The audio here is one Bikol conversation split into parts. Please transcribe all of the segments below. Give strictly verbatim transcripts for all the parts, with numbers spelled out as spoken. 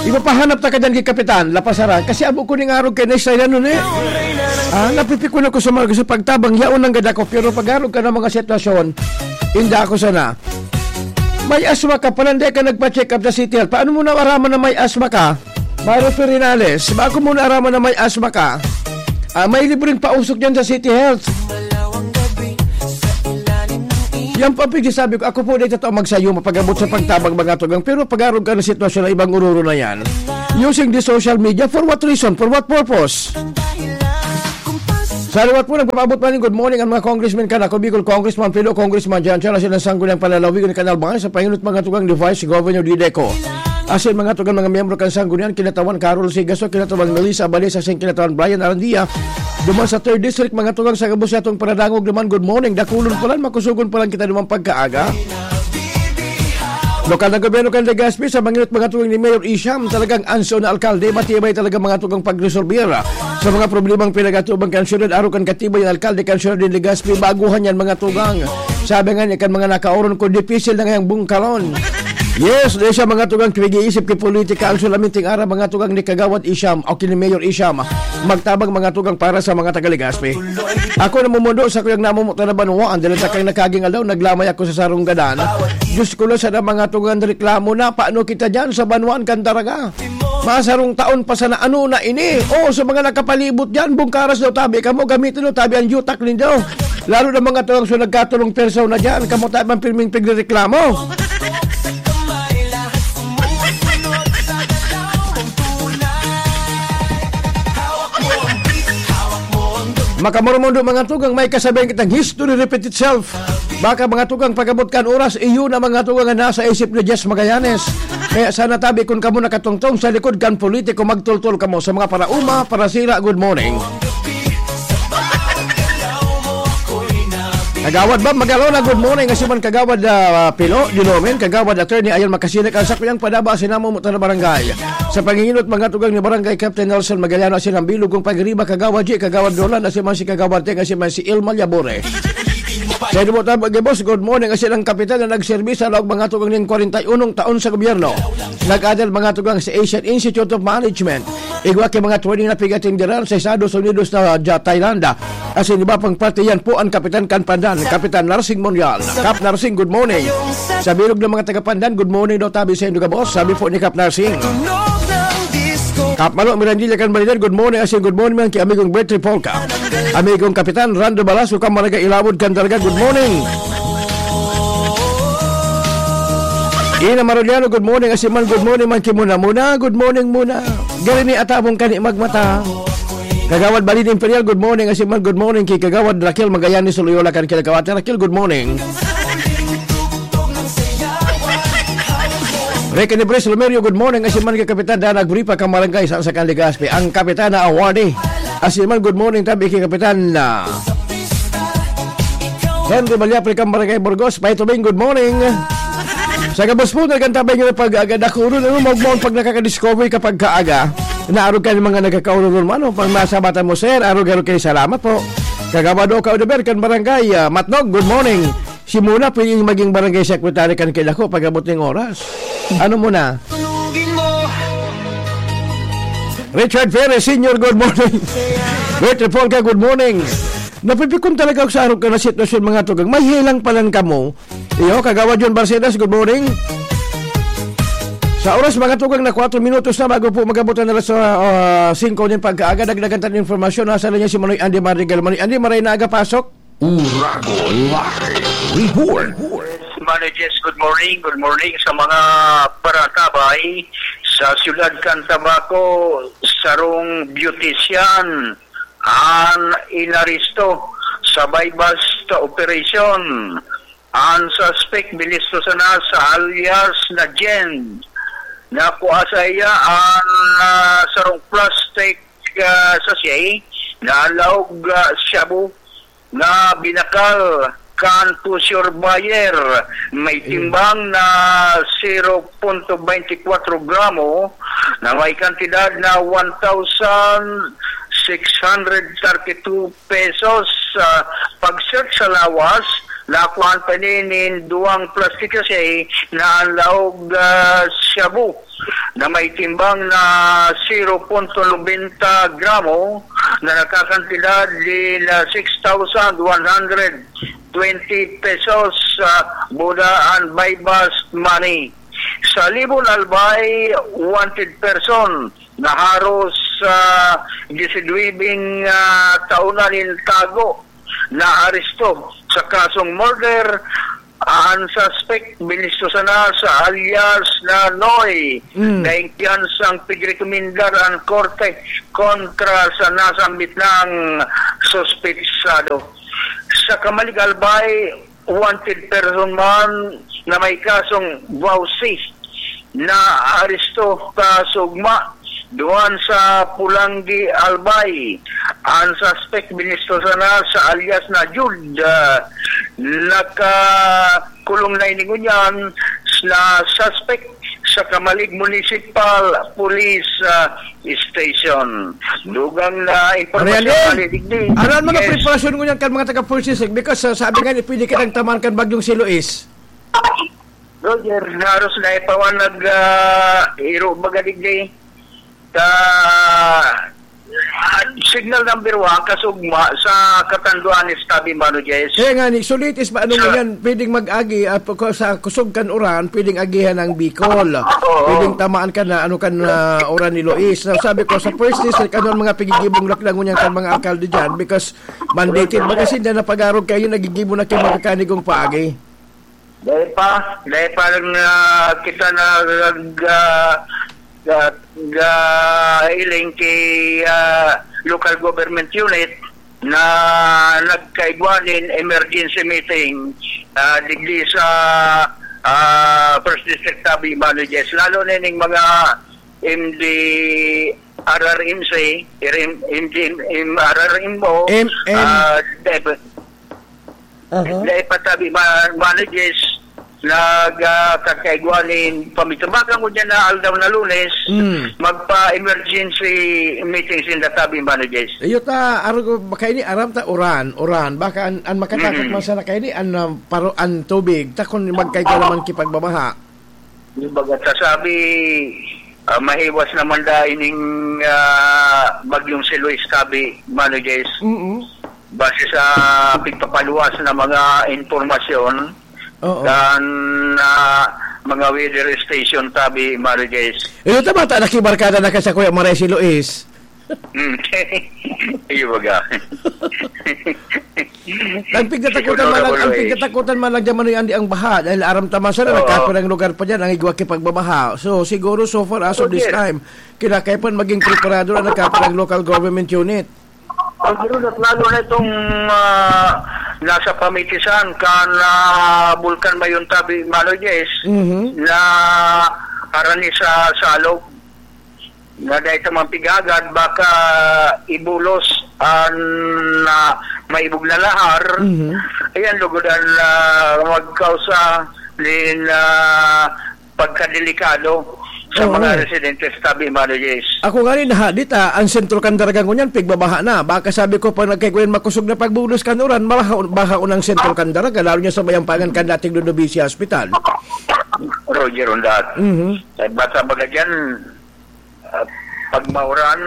Ipapahanap ta ka dyan ki Kapitan, lapasaran. Kasi abo ko ning arog kay Nestor yan nun eh. Ah, napipikon ako sa mga gusto pagtabang, yaon lang gad ako. Pero pag-arog ka ng mga sitwasyon, hindi ako sana. May asma ka, pala hindi ka nagpa-check up sa City Health. Paano mo naaraman na may asma ka? Mario Ferinales, bago mo naaraman na may asma ka, ah, may libreng pausok dyan sa City Health. Yan po ang pagsasabi ko. Ako po, di totoo magsayo, mapag-abot sa pagtabang mga tugang. Pero pag-arog ka ng sitwasyon na ibang ururo na yan, using the social media, for what reason? For what purpose? Sa liwat po, nagpapaabot man yung good morning ang mga congressmen ka na, Bicol Congressman Pilo, Congressman Jan Chan, asin ang Sangguniang Panlalawigan ni Kanal Bahay sa panginot mga tugang ni Vice Governor Dideco. Asin mga tugang mga miyembro kan Sanggunian, kinatawan Carol Sigaso, kinatawan Melissa Abalesa, asin kinatawan Brian Arandia. Duman sa third District, mga tugang sa gabos sa atong paradangog naman, good morning. Dakulon pa lang, makusugon pa lang kita naman pagkaaga. Lokal na gobyerno kan Legazpi sa manginot mga tugang ni Mayor Isham, talagang anso na alkalde, matibay talaga mga tugang pagresolbir sa mga problemang pinagatuban kan syudad, araw kan katibay ang alkalde kan syudad ni Legazpi, baguhan yan mga tugang. Sabi nga ni kan mga nakaoron ko, dipisil na ngayang bungkalon. Yes, di siya mga tugang pig-iisip ki politika, ang sulaminting ara mga tugang ni Kagawad Isham o ki ni Mayor Isham, magtabang mga tugang para sa mga taga Legazpi. Ako namumundo sa kuyang namumutan na banwaan, dahil sa kang nakaging aldaw, naglamay ako sa sarong gadan. Diyos ko lang, sana mga tugang reklamo na, paano kita dyan sa banwaan kan Daraga? Masarong taon pa sana, ano na ini? Oh, sa mga nakapalibot dyan, bungkaras daw tabi kamo, gamitin daw tabi ang yutak ninyo. Lalo na mga tugang so nagkatulong persona dyan, kamo tabi ang pirming pigrereklamo. Makamurmundo mga tugang, may kasabihan kitang history repeat itself. Baka mga tugang pag-abot kan oras, iyo na mga tugang ang nasa isip ni Jess Magallanes. Kaya sana tabi kun kamo nakatungtong sa likod kan politiko, magtultol kamo sa mga parauma, parasira, good morning. Kagawad Bob Magalona, good morning. Asiman Kagawad, ah, Pilo, Dilomen, Kagawad Attorney Ayon Makasinik, ang sakuyang padaba, sinamo mo na barangay. Sa panginginot, mga tugang ni Barangay Captain Nelson Magallano, asin ang bilog kong pagriba, Kagawad G, Kagawad Roland, asiman si Kagawad Teng, asiman si Ilma Yabore. Sa inyo po, tab-, boss, good morning. Asin ang kapitan na nagserbi sa laog mga tugang ning kwarenta y unong taon sa gobyerno. Nag-adal mga tugang sa Asian Institute of Management. Igwa ki mga training na pigatindiran sa Estados Unidos na, ah, Thailand. Asin iba pang parte yan po ang Kapitan kan Pandan, Kapitan Narsing Monreal. Kap Narsing, good morning. Sa bilog ng mga taga Pandan, good morning daw tabi sa inyo, boss. Sabi po ni Kap Narsing. Kap Malo Mirandilla kan Balinan, good morning. Asin good morning man ki amigong Bertie Polka. Amigong Kapitan Rando Balasco kan Barangay Ilawod kan Daraga, good morning. Ina Maroliano, good morning. Asin man, good morning man ki Muna Muna. Good morning, Muna. Gari ni atabong kani magmata. Kagawad Balin Imperial, good morning. Asin man, good morning ki Kagawad Raquel Magallanes Loyola kan Kilakaw. Ate Raquel, good morning. Ricky Nibres Lomerio, good morning. Asin man ki Kapitan Danag Bripa kan Barangay San Sakan Legazpi. Ang Kapitan na awardee. Asin man, good morning tabi ki Kapitan na Henry Malyapre kan Barangay Burgos. Paitubing, good morning. Sa gabos po, nagkantabay nyo na pag-agad ako. Ano, magmahon pag nakaka-discover kapag kaaga. Naarog ka ng mga nagkakaururun mo. Ano, pag masabatan mo, sir, arog-arog kayo, salamat po. Kagawad Oka Odeber, kan Barangay, ah, Matnog, good morning. Si Muna, pwede maging barangay secretary kan Kilako pag-abot ng oras. Ano muna? Richard Perez Senior, good morning. Bertie Polka, good morning. Napipikon talaga ako sa arog ka na sitwasyon, mga tugang. May hilang pa lang kamo. Iyo, Kagawad John Barcedas, good morning. Sa oras, mga tugang, na kwatro minutos na bago po mag-abot ang alas, ah, ah, singko ng pagkaaga, dagdagan tayo ng informasyon. Nasa linya si Manoy Andy Madrigal. Manoy Andy, maray na aga, pasok. Uragon Live Report. Yes, Manoy Jess, good morning. Good morning sa mga paratabay sa siyudad kan Tabaco, sarong beautician an inaresto sa buy-bust operation. Ang suspect, bilisto sana sa alias na Jen. Nakua sa iya ang, ah, sarong plastic, ah, sachet na laog, ah, shabu na binakal kan pusher buyer. May timbang na zero punto twenty-four gramo na may kantidad na one thousand six hundred thirty-two pesos. Sa pag-search sa lawas, nakuhaan pa nin duwang plastic sachet na ang laog, ah, shabu. na may timbang na zero punto nobenta gramo na nakakantidad din na six thousand one hundred twenty pesos, ah, Buda and buy-bust money. Sa Libon Albay, wanted person na haros, ah, disidwibing, ah, taon na nin tago na aresto sa kasong murder. Ang suspect, binisto sana sa alias na Noy, Mm. na ingkiyan sang pigrekomendar ang korte kontra sa nasambit nang suspetsado. Sa Camalig Albay, wanted person man na may kasong vowsy na aresto kasugma duman sa Pulanggi, Albay. Ang suspect, binisto sana sa alias na Jude, ah, nakakulong na ini ngunyan na suspect sa Camalig Municipal Police, ah, Station. Dugang na impormasyon, Ariel, Mali Digdi. Ano ang mga Yes. preparasyon ngunyan kan mga taga-First District? Because, ah, sabi nga, pwede kitang tamaan kan bagyong si Luis. Roger, haros na ipawan nag, ah, iro baga digdi. Sa, ah, signal number one, kasugma sa Catanduanes tabi, Mano Jess. Kaya nga, ni, so latest ba, ano So ngunyan, pwedeng mag-agi, ah, pagka-, sa kusog kan uran, pwedeng agihan ang Bicol. Oo. Pwedeng tamaan ka na, ano kan, ah, uran ni Luis. Na sabi ko, sa First District, ano ang mga pigigibong laklang ngunyan kan mga alkalde dyan? Because mandated, baga sinda na pag-arog kayo, nagigibo na kayo magkakanigong paagi. Dai pa, dai pa lang, ah, kita nag, ah, ga-, ga-, iling ki, ah, local government unit na nagkaigwa nin emergency meeting, ah, digdi sa, ah, First District tabi, Mano Jess. Lalo na ning mga M D R R M C, M D, M R R M O, M M. ah, dep-, Aha. Dai pa tabi, ma-, Mano Jess, nag, ah, kakaigwa nin pamitubakan ko dyan na aldaw na Lunes, Mm. magpa-emergency meeting sinda tabi, Mano Jess. Iyo ta, aro ko, baka ini aram ta, uran, uran. Baka an, an makatakot Mm. man sana kaini, an, ah, paro-, an tubig, ta kun magkaigwa naman kipagbabaha. Di baga ta sabi, ah, mahiwas naman da ining, ah, bagyong si Luis tabi, Mano Jess. Mm. Base sa pigpapaluwas na mga impormasyon Oo. kan, ah, mga weather station tabi, Mano Jess. Iyo ta bata, nakibarkada na ka sa Kuya Maray si Luis. Hmm. Iyo baga. Ang pigtatakutan Siguro man lang, ang Roy. pigtatakutan man lang dyan, Manoy Andy, ang baha. Dahil aram ta man sana, Oo. nagkapirang lugar pa dyan, ang igwa kipagbabaha. So, siguro, so far, as of Oh, this yes. time, kinakaipan maging preparado na nagkapirang local government unit. Ang siguro na plano na itong, ah, nasa pamitisan kan, ah, Bulkan Mayuntabi, Manoy Jess, Mhm. na harani sa Salog. Na dahil sa mga pigagad, baka ibulos an, ah, maibog na lahar. Mhm. Ayan, lugod an, ah, magkausa nin, ah, pagkadelikado sa Oo. mga residente sa tabi, Mano Jess. Ako nga rin, ha, dita, ang Sentro Candaraga ngunyan, pigbabaha na. Baka sabi ko, pag nagkaigwayan makusog na pagbulos kan uran, mabaha, baha unang Sentro Candaraga, lalo niya sa mayampangan kan dating Ludovicia Hospital. Roger, undat. Mhm. Eh, basta baga dyan, ah, pag mauran,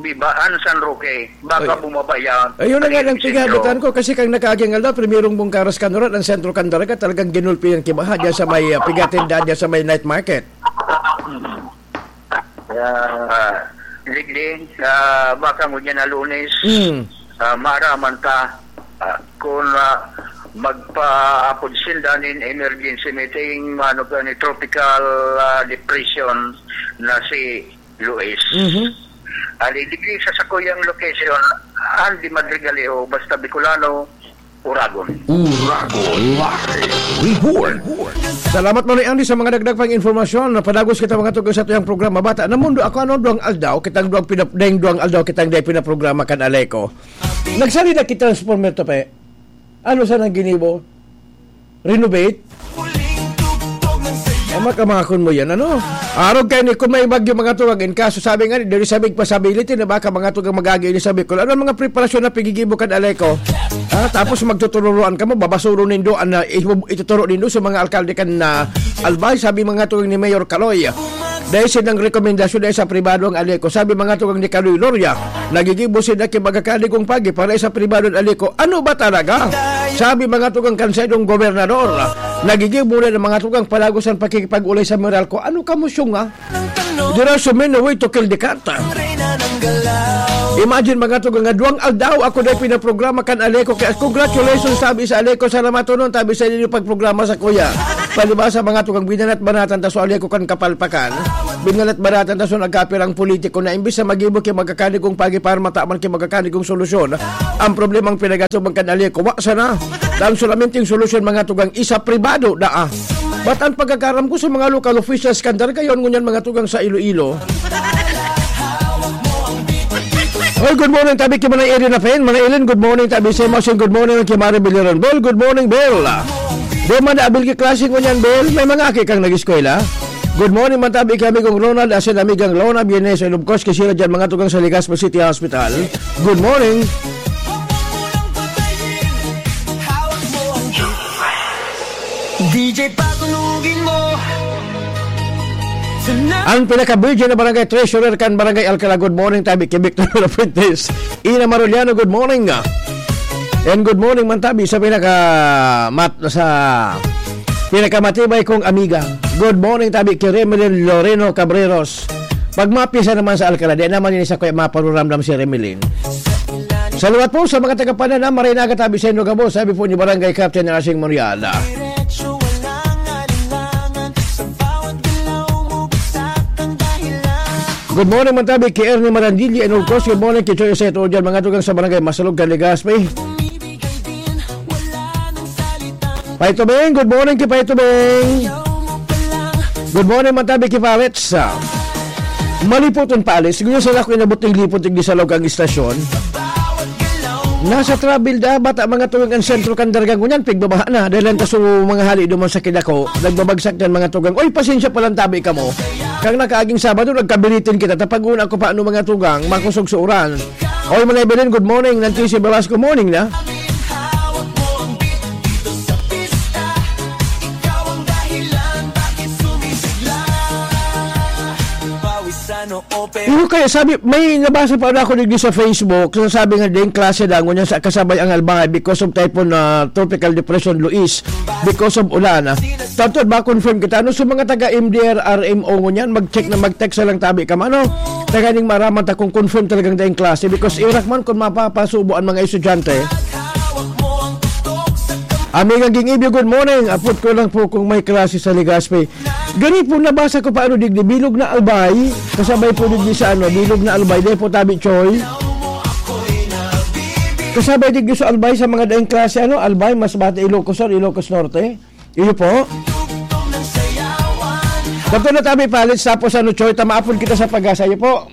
bibaan San Roque, baka Ay. bumaba yan. Ayun na nga Ayun, ang sentro. pighabutan ko kasi kang nakaaging aldaw, primerong bungkaras kanuran ang Sentro Candaraga, talagang ginulpi ang kibaha dyan sa may, ah, pigatindahan dyan sa may night market. Kaya, ah, Digdi, ah, baka ngunyan na Lunes, Mm. ah, maaraman ta, ah, kung, ah, magpaapod sinda nin emergency meeting, ano ka ni tropical, ah, depression na si Luis. Mhm. Ali, digdi sa sakuyang location, Andy Madrigalejo, basta Bicolano, Uragon. Uragon Live Report. Salamat, Manoy Andy, sa mga dagdag pang informasyon. Padagos kita mga tugos sa tuyang programa, Bata na Mundo. Ako, ano, duwang aldaw, kitang duwang pinap-, dayong duwang aldaw, kitang dayong pinaprograma kan Aleco. Nagsali na ki transformer to, pe. Ano sa nang ginibo? Renovate? Ay, makamakon mo yan, ano? Arog kayo ni, kung may bagyo, mga tuwag, in kaso sabi nga, diri sa big possibility na baka mga tugang magagi ini sa Bicol. Ano ang mga preparasyon na pigigibo kan Aleco? Ha? Tapos magtutururoan ka mo, babasuro nindo, an, ah, ibu-, ituturo nindo sa mga alkalde kan, ah, Albay, sabi mga tugang ni Mayor Kaloy. Dai sinda nagrekomendasyon, dai sa pribado ang Aleco. Sabi mga tugang ni Kaloy Loria, nagigibo sinda ki magakani kong pagi para sa pribado ang Aleco. Ano ba talaga? Sabi mga tugang kan saindong gobernador, nagigibo na ng mga tugang palagos ang pakikipag-ulay sa Meralco. Ano ka mo, Syong, ah? There are so many way to kill the cat. Imagine, mga tugang, nga duwang aldaw ako na pinaprograma kan Aleco. Kaya congratulations, sabi sa Aleco, sa namatunon, sabi sa inyo pagprograma sa kuya. Palibasa, mga tugang, binanat-banatan ta so Aleco kan kapalpakan. Binanat-banatan ta so nagkapirang politiko na imbis na mag-ibo ki magakani kong pagi para mataman ki magakani kong solusyon. Ang problemang pinagatuban kan Aleco, wa sana. Ang solamente yung solusyon, mga tugang, isa pribado, daa. Ba't ang pagkakaram ko sa mga local officials kan Dargayon ngunyan, mga tugang, sa Iloilo? Oy, good morning, tabi ki Manay Erin Apen. Manay Ellen, good morning, tabi sa Mosin. Good morning, ki Mari Biliron. Bel, good morning, Bel. Di man naabil ki klase ngunyan, Bel. May mga aki kang nag-eskwela. Good morning, man tabi ki amigong Ronald, asin amigang Lona, Bienes, and of course, ki sila dyan, mga tugang sa Legazpi City Hospital. Good morning. D J, patunugin mo. Ang pinaka-virgin na barangay treasurer kan Barangay Alcala. Good morning, tabi ki Victor Fuentes. Ina Maruliano, good morning. And good morning man tabi sa pinaka-, mat-, sa pinakamatibay kong amiga. Good morning, tabi ki Remelin Loreno Cabreros. Pag mapisa naman sa Alcala, di naman ini sa kuya maparuramdam si Remelin. Salamat po sa mga taga Panana, maray na aga tabi sa inyo gabos, sabi po ni Barangay Captain Racing Morial. Good morning, man tabi ki Ernie Marandili, and of course, good morning ki Choy Seto dyan, mga tugang sa Barangay Masalog, Legazpi. Paito Beng, good morning ki Paito Beng. Good morning, man tabi ki Parets. Malipoton pa alis. Siguro sila ko inabot ng lipot, tigdi sa log ang istasyon. Nasa travel da, bata mga tuwing ang sentro kan Darga ngunyan, pigbabaha na. Dahil lang taso mga hali duman sa Kidako, nagbabagsak yan mga tugang. Oy, pasensya pa lang tabi kamo. Kang nakaaging Sabado, nagkabiritin kita. Tapag-una ko pa ano mga tugang, makusog sa uran. Oy, Manay Belen, good morning. Nancy Velasco, morning na. Iyo kaya sabi, may nabasa pa ako digdi sa Facebook, sasabi nga ding klase dangon yan sa kasabay ang Albay because of Typhoon, ah, Tropical Depression Luis, because of ulan, ah. Tanto ba confirm kita? Ano sa mga taga M D R R M O ngunyan? Mag-check na, mag-text na lang tabi ka, mano? Taga ning maraman ta kung confirm talagang daing klase because irak man kung mapapasubo ang mga estudyante. Amigang Ging Ibyo, good morning. Apot ko lang po kung may klase sa Legazpi. Gani po, nabasa ko pa ano digdi, bilog na Albay. Kasabay po digdi sa ano, bilog na Albay. Dahil po tabi, Choy. Kasabay digdi sa Albay sa mga daing klase, ano, Albay, Masbate, Ilocos Sur, Ilocos Norte. Iyo po. Dr. Natabi Palace, tapos ano, Choy, tamaapon kita sa pag-asa. Iyo po.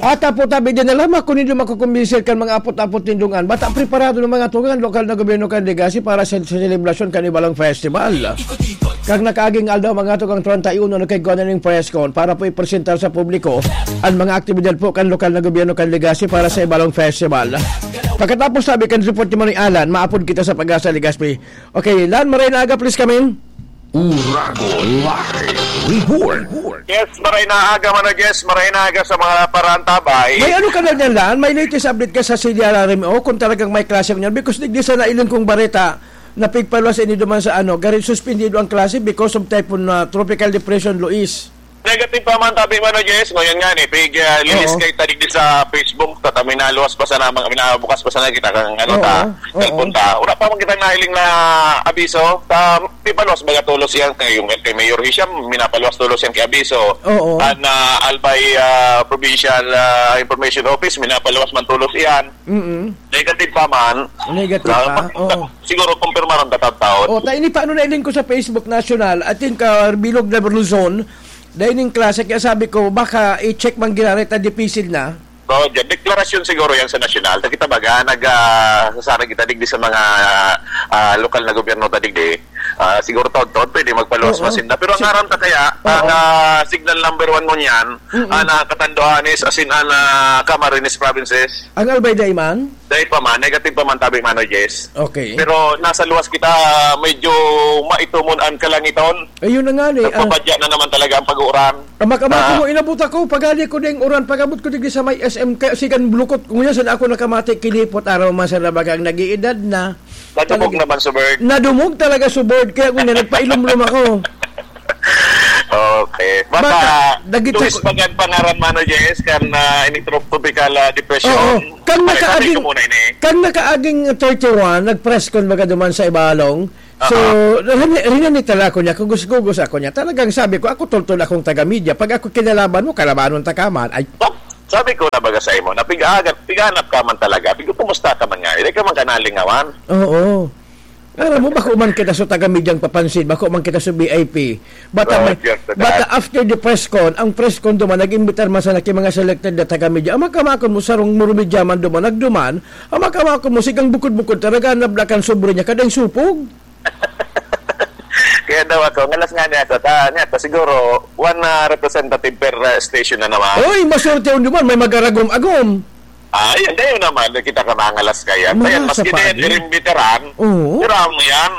Ata po tabi din alam ako nindo makukumbinsil kan mga apot-apot nindungan. Bata preparado ng mga tungan, lokal na gobyerno kan Legazpi para sa, sa selebrasyon kan Ibalong Festival. Kag nakaaging aldaw, mga tugang treinta y uno, nagkaigwa na ning press con para po ipresentar sa publiko ang mga aktibidad po kan lokal na gobyerno kan Legazpi para sa Ibalong Festival. Pagkatapos sabi kan report ni Manoy Alan, maapod kita sa Pag-asa Legazpi. Okay, Lan, maray na aga, please come in. Uragon Live Report. Yes, maray na aga, Mano Jess, maray na aga sa mga parantabay. May ano ka na niyan, Lan? May latest update ka sa Silya Rarem O kung talagang may klase niyan? Because digdi sa nailing kong bareta, napigpaluwas ini duman sa ano, garin suspendido ang klase because of Typhoon, ah, Tropical Depression Luis. Negative pa man tabi, Mano Jess, ngayon nga ni, pig, ah, lilis Oo. kay tadig di sa Facebook, tata minaluwas pa sana, mga minabukas pa sana kita kang ano Oo, ta, oo. cellphone ta. Wala pa man kitang nahiling na abiso, ta, pipaluwas baga tulos yan, kay yung kay Mayor Hisham, minapaluwas tulos yan kay abiso. Oo. An, ah, Albay, ah, Provincial, ah, Information Office, minapaluwas man tulos yan. Mm-mm. Negative pa man. Negative Na, pa, ma-, oo. siguro, kumpirmaron ka taon. O, ta, ini paano nailing ko sa Facebook National, I think, ah, bilog na blue zone, dahil yung klase, kaya sabi ko, baka i-check man ginareta, dipisil na. So, dyan, deklarasyon siguro yan sa nasyonal. Ta kita baga, nag, ah, sasarag kita digdi sa mga, ah, lokal na gobyerno ta digdi. Ah, siguro taon-taon pwede magpaluwas Oo. masinda. Pero ang Oo. ngaran ta kaya, Oo. ang, ah, signal number one ngunyan, Mm-mm. ang, ah, Catanduanes, asin ang, ah, Camarines provinces. Ang Albay dai man? Dai pa man, negative pa man tabi, Mano Jess. Okay. Pero nasa luwas kita, medyo maitumon ang kalangiton. Ayun na nga ni, ah. Nagpapadya na naman talaga ang pag-uuran. Ama ka, ama ko Ah. mo, inabot ako, pagali ko ding uran, pag-abot ko digdi sa may S M, kaya sigan bulukot ko ngunyan, saan ako nakamati, kinipot, araw man sa labagang nag-iedad na. Nadumog Talaga. naman sa bird. Nadumog talaga sa bird, kaya ngunyan, nagpailumlom ako. Okay. Baka, Baka, dagit Luis ako Bagan pangaran, Mano Jess, kan, ah, ini trop-, tropical, ah, depression. Oo. Kang Ay, sabi nakaaging, ko muna ini. kang nakaaging thirty-one, nag-press con baga duman sa Ibalong. So, Aha. rin-, rinanit na lang ako niya, kugos-kugos ako niya. Talagang sabi ko, "Ako toltol akong taga-media. Pag ako kinalaban mo, kalabanon ta ka man." Ay, Sa-, sabi ko na baga sa imo, na piga-, piganap ka man talaga. Piga, kumusta ka man nga? Hindi ka man kanalingawan. Oo. Alam mo, bako man kita sa taga-media ang papansin, bako man kita sa V I P. Bata may, Roger, sir. bata after the press con, ang press con duman, nag-imbitar man sana ki mga selected na taga-media. Ang makamakon mo, sarong murumidya man duman, nagduman. Ang makamakon mo, sigang bukod-bukod, talaga nablakan sobre niya, kadang supog. Kaya daw ako, ngalas nga niya ako, ta, niya ako, siguro, one, ah, representative per, ah, station na naman. Oy, maswerte yun duman, may mag-aragom-agom. Ah, yan, kayo naman, kita ka mangalas kaya. Ayan, Marasa maski pa na yan, din. iring veteran, Oo. pero ang yan,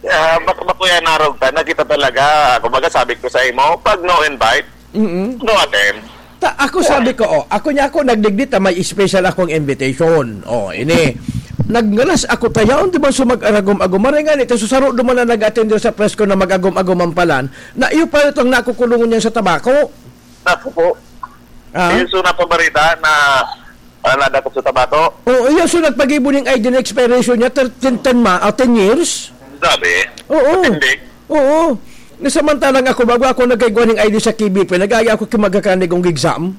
ah, bak-, bako yan narog ta, nakita talaga, kumbaga sabi ko sa imo, pag no invite, Mm-mm. no attend. Ta, ako sabi ko, oh, ako niya ako, nagdigdi ta, may special akong invitation. Oh, ini. Nagngalas ako, tayaon duman sa mag-aragom-agom. Maray nga nito, susaro duman na nag-attend sa press con na mag-agom-agom ang palan, na iyo pa itong nakukulungan niya sa tabako. Naku po. Ah? Yung suna pa barita na, ah, nadakop sa tabako? Oo, yung so nagpagibo ning I D na expiration niya, thirteen, ten ma-, ah, ten years? Grabe. Oo. Matindi. Oo. Na samantalang ako, bago ako nagkaigwa ning I D sa K B P, nag-aagi ako ki magkakanig kong exam.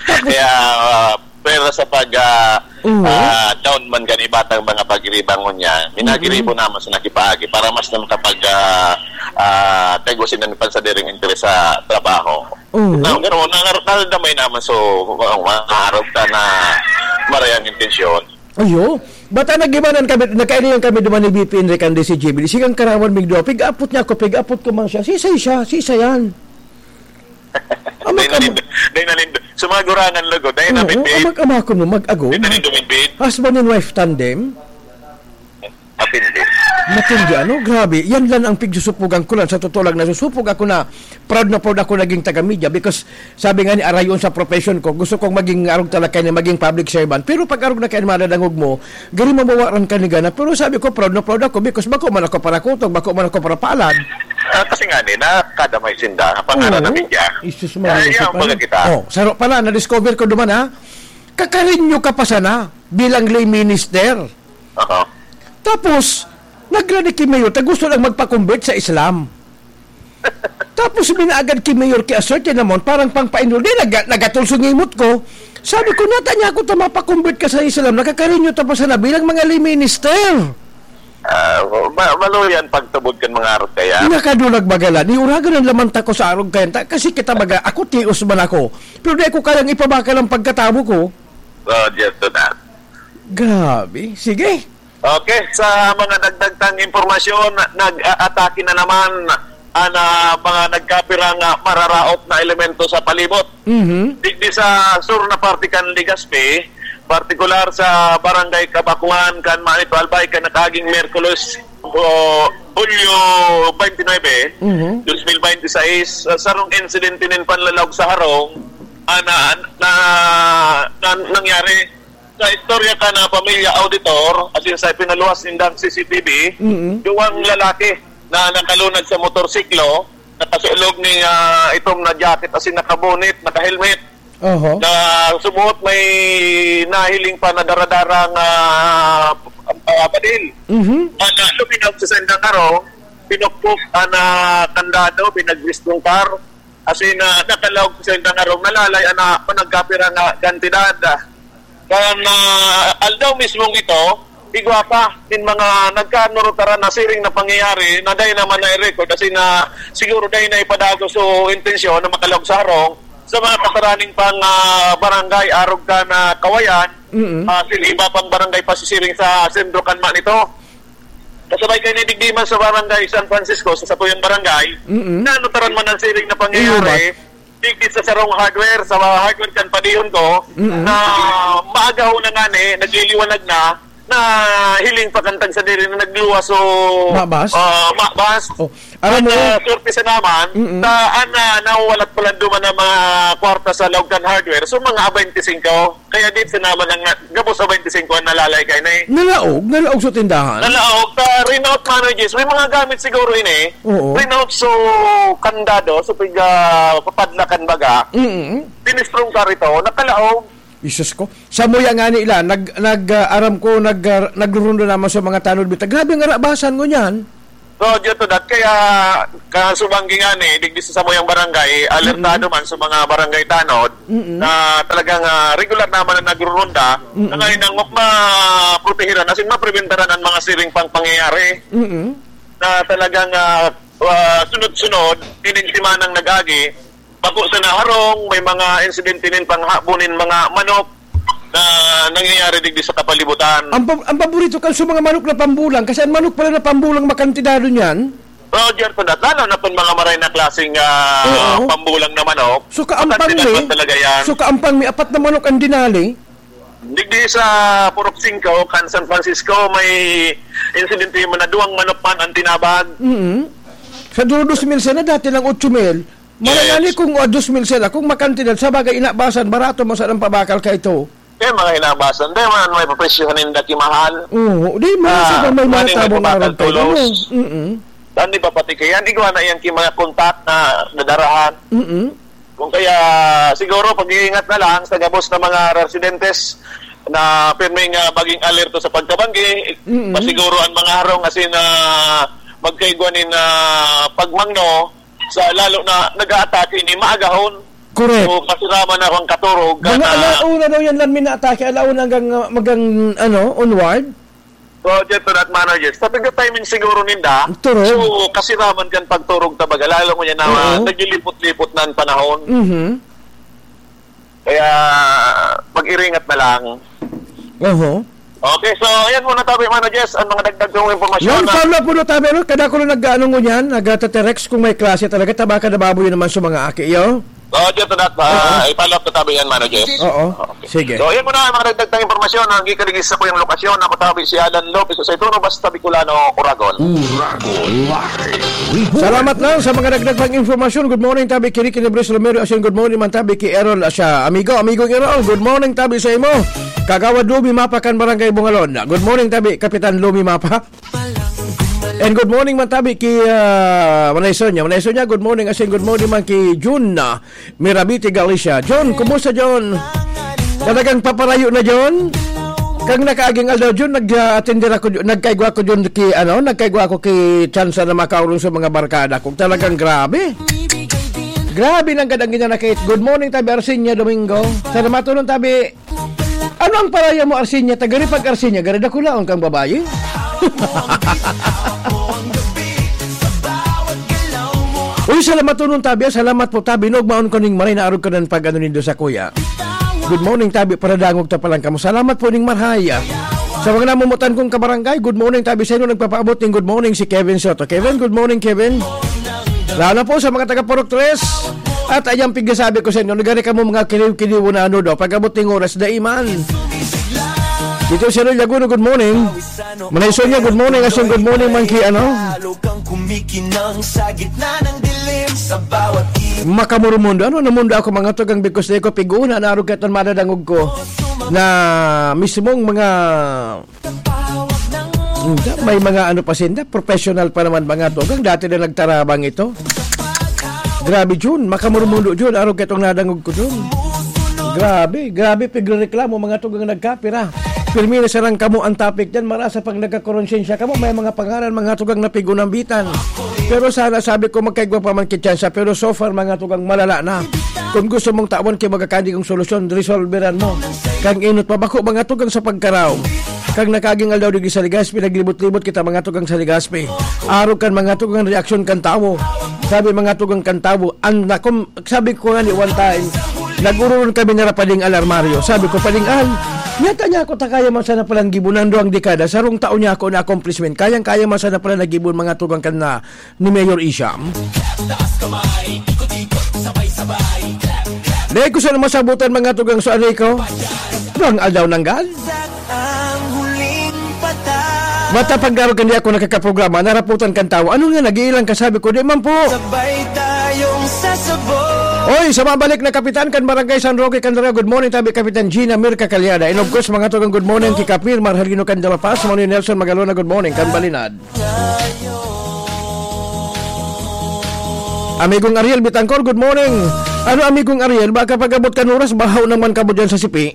Tapos Kaya, ah, pero sa pag, ah, Oo. ah, down man kan iba tang mga pagiribangon niya, minagiribo Mm-mm. naman sa nakipaagi para mas na makapag, ah, ah, kagwa sila ni pansadiring interes sa trabaho. Oo. Na, ganoon, na, na, nadamay naman so, ang mga arog ta na marayang intensyon. Ayo, bata nagibanan kami, nagkairingan kami duman ni B P Enrique and si J B D. Sigang karawan mig duwa, pig-apot niya ako, pig-apot ko man siya. Sisay siya, sisay yan. Dahil Amak-, nalindo, dahil nalindo. Sumagura ng lugod, dahil Oo, nabitbit. amak-, amakon mo, mag-agom. Dahil nalindo, bitbit. Husband and wife tandem. Matindi. Matindi, ano? Grabe. Yan lang ang pigsusupugan ko lang. Sa totoo lang, nasusupog ako na proud na proud ako naging taga-media because sabi nga ni arayon sa profession ko, gusto kong maging arog talaga na maging public servant. Pero pag arog na kayo madadangog mo, gari mabawaran ka ni gana. Pero sabi ko, proud na proud ako because bako man ako para kutog, bako man ako para palad. Ah, kasi nga ni, nakadamay sinda, pangaran na Oo. media. Jesus Maria, Ay, yan, Jose, baga pare. kita. Oh, saro pala, na-discover ko duman, ha? Kakarinyo ka pa sana bilang lay minister. Aha. Tapos, nagrani ki Mayor, ta gusto lang magpa-convert sa Islam. Tapos, minaagad ki Mayor ki a certain amount, parang pangpainol. Di, naga-, nagatol sa ngimot ko. Sabi ko, "Nata niya ako ta mapa-convert ka sa Islam, nakakarinyo ta pa sana bilang mga lay minister." Ah, ma-, malo yan pagtubod kan mga arog kaya. Nakadulag bagalan. Iuragan ang laman tako sa arog kaya. Ta-, kasi kita baga, ako tios man ako. Pero di ko kayang ipabakal ang pagkatawo ko. Oh, just to that. Grabe. Sige. Okay, sa mga dagdag tang impormasyon, nag-aatake na naman ang, ah, mga nagkapirang, ah, mararaot na elemento sa palibot. Mhm. Digdi sa sur na parte kan Legazpi, partikular sa Barangay Kabakungan, kan Manito Albay, kan nakaaging Miyerkules, o, Hulyo twenty-nine, Mhm. twenty twenty-six, sa sarong insidente nin panlalaog sa harong, ah, na, na, na nangyari. Sa istorya kan pamilya auditor, asin sa pinaluwas nindang C C T V, Mm-mm. duwang lalaki na nakalunad sa motorsiklo, nakasulog ning, ah, itom na jacket, asin nakabonnet, naka-helmet, Oho. na sumuot may nahiling pa na daradarang, ah, ah, badil. Mhm. Ah, na luminaw sa sendang harong, pinukpok ang, ah, kandado, pinagwis ng car. Asin, ah, nakalaog sa indang harong, nalalay ana pa nagkapira nga kantidad. Kan, ah, aldaw mismong ito, igwa pa nin mga nagkanurutaran na siring na pangyayari na dai naman na-record, asin na siguro dai na ipadagos o intensyon na makalaog sa harong, sa mga kasaraning pang, ah, barangay, arog kan, ah, Kawayan, Mm. ah, sin iba pang barangay pasisiring sa sentro kan Manito. Kasabay kaini digdi man sa barangay San Francisco, sa satuyang barangay, Mm. na nutaran man ang siring na pangyayari, Iyo ba? digdi sa sarong hardware, sa hardware kan padihon ko, Mm. na maagahon na ngani, nagliliwanag na, na hiling pa kan tagsadiri na nagluwas o, Mabas? ah, mabas. Oh, aram At, mo, ah, sorpresa naman, Mm. na, ah, na, nawalat pala duman ang mga kwarta sa laog kan hardware. So, mga twenty-five. Kaya di sa naman ang, ah, gabos sa twenty-five ang nalalay kayo na eh. Nalaog? Nalaog sa tindahan? Nalaog. Sa Renault Managers, may mga gamit siguro ini. Oo. Renault, so, kandado, so, piga, papadlakan baga. Mm. Tinistrong ka rito, nakalaog. Jesus ko. Sa muya nga nila, nag, nag, ah, aram ko, nag, ah, nagrurundo naman sa mga tanod bita. Grabe ang arabasan ngunyan. So, due to that, kaya kasubang gingani, digdi sa samuyang barangay, alertado Mm. man sa mga barangay tanod Mm. na talagang, ah, regular naman na nagrurunda, Mm. na ngayon ang ma-, maprotehiran, as in, mapreventaran ang mga siring pang pangyayari Mm. na talagang, ah, ah, sunod-sunod, inin simanang nag-agi, bako sa naharong, may mga insidente nin panghabonin mga manok na nangyayari digdi sa kapalibutan. Ang pa-, ang paborito kan sa mga manok na pambulang, kasi ang manok pala na pambulang makantidado niyan. Roger, for that, lalo na itong mga maray na klaseng, ah, Oo. pambulang na manok. So, kaampang Makantidad mi, man talaga yan. so, kaampang mi, apat na manok ang dinali. Digdi sa Purok Singko, kan San Francisco, may insidente man na duwang manok man ang tinabag. Mm. Sa dulo dos mil sana, dati lang otso mil. Yes. Malangali kung, ah, dos mil sila, kung makantidad, sa bagay, inabasan, barato mo sa ng pabakal ka ito. Kaya mga inabasan, di man may papresyohan ninda kimahal. Oo, di man Ah, sa may mga mga tabang pabakal araw tayo, tulos. ano? Mm-mm. Saan di papatikiyan? Igwa na yan ki mga kontak na nadarahan. Mm-mm. Kung kaya, siguro, pag-iingat na lang sa gabos na mga residentes na pirming, ah, maging alerto sa pagkabanggi, Mm-mm. masiguro ang mga harong asin na magkaigwa nin, ah, pagmangno sa lalo na nag-aatake ni maagahon. Correct. So, kasiraman na akong katurog, Mga na alauna daw yan lang minaatake, alauna hanggang, ah, hanggang, ano, onward? So, dyan to that manner, yes. Sabi ko, timing siguro ninda. Turog. So, kasiraman kan pagturog, tabaga, lalo mo yan na, Oo. ah, naglilipot-lipot na ang panahon. Mhm. Kaya, mag-iringat na lang. Oho. Okay, so, ayan muna, tabi, Mano Jess, ang mga dagdag kong impormasyon Yan, na follow up muna, tabi, ano? Kada ko lang nag-ano ngunyan, nagtatext kung may klase talaga, tabaka na baboy naman sa mga aki, yo? Oh, dyan to that, ah, Oo. i-follow up na tabi yan, Mano Jess. Oo. Okay. Sige. So, ayan muna ang mga dagdag na impormasyon na gikalingis sa kuyang lokasyon. Ako tabi si Alan Lopez sa Ituno, basta Bicolano, Oragon. Uragon Live Report. Salamat lang sa mga dagdag pang impormasyon. Good morning, tabi, Kiri Kinabres Romero. Asin, good morning man, tabi, ki Errol. Asya, amigo, amigo Errol. Good morning, tabi, sa imo. Kagawad Lumi Mapa kan Barangay Bungalon. Good morning, tabi, Kapitan Lumi Mapa. And good morning man, tabi, ki, ah, Manay Sonia. Manay Sonia, good morning. Asin, good morning man ki Jun, ah, Mirabiti, Galicia. John, kumusta, John? Talagang paparayo na, John? Kang nakaaging aldaw, John, nag-atender ako, nagkaigwa ako, John, ki, ano, nagkaigwa ako ki Chansa na makaurong sa mga barkada. Kung talagang grabe. Grabe nang gadang ginanakit. Good morning, tabi Arsinya Domingo. Sa namatulong, tabi, ano ang paraya mo, Arsinya? Tagari pag Arsinya, gari dakulaon kang babayi? Uy, salamat po nun, tabi, ah. Salamat po, tabi. Nogmaon ko ning maray na arog ka ng pag-ano nindo sa kuya. Good morning, tabi. Paradangog ta palang kamo. Salamat po ning marhay, ah. Sa mga namumutan kong kabarangay, good morning, tabi. Sa inyo nagpapaabot ning good morning si Kevin Soto. Kevin, good morning, Kevin. Lalo po sa mga taga Purok Tres. At ayang pigkasabi ko sa inyo, nagari kamo mga kiliw-kiliw na ano daw. Pag-abot ning oras, daiman. Dito si Roy Laguno, good morning. Manay Sonia, good morning. Asin, good morning, man ki, ano? Makamurumundo. Ano na mundo ako, mga tugang, because di ko piguna, narog ka itong madadangog ko na mismong mga, may mga ano pa sinda, professional pa naman, mga tugang. Dati na nagtarabang ito. Grabe, Jun. Makamurumundo, Jun. Arog ka itong nadangog ko, Jun. Grabe, grabe, pigrereklamo, mga tugang nagkapira. Pirmi na sarang kamo ang topic dyan. Marasa pag nagkakonsyensya kamo, may mga pangaran, mga tugang na pigunambitan. Pero sana, sabi ko, magkaigwa pa man kitsansa. Pero so far, mga tugang, malala na. Kung gusto mong tawan kay magakadi kong solusyon, resolveran mo. Kang inot pa bako, mga tugang sa pagkaraw. Kang nakaging aldaw digdi sa Legazpi, naglibot-libot kita, mga tugang sa Legazpi. Arog kan mga tugang reaksyon kan tawo. Sabi, mga tugang kan tawo, ang nakom-, sabi ko nga ni one time, nag-ururon kami na Pading Al Armario. Sabi ko, "Pading Al, yata niya ako ta kaya man sana palang gibunan duwang dekada, sarong taon niya ako na accomplishment. Kayang-kaya man sana pala nagibon mga tugang kan na ni Mayor Isham." Dahil ko sana masabutan mga tugang sa anay ko, duwang aldaw nanggal. Ang huling patay. Bata pagdarog kan di ako nakakaprograma, naraputan kan tawo. "Ano nga, nag-iilang ka?" Sabi ko, "Di man po." Sabay tayong sasabog. Oy, sa mabalik na kapitan kan Barangay San Roque, Candelaria, good morning, tabi Kapitan Gina Mirka Calyada. And of course, mga tugang, good morning kay Kapir Marcelino Candela Paz, Manuel Nelson Magalona, good morning, kan Balinad. Amigong Ariel Bitangkor, good morning. Ano, Amigong Ariel, baka pag-abot kan oras, bahaw naman kamo dyan sa sipi.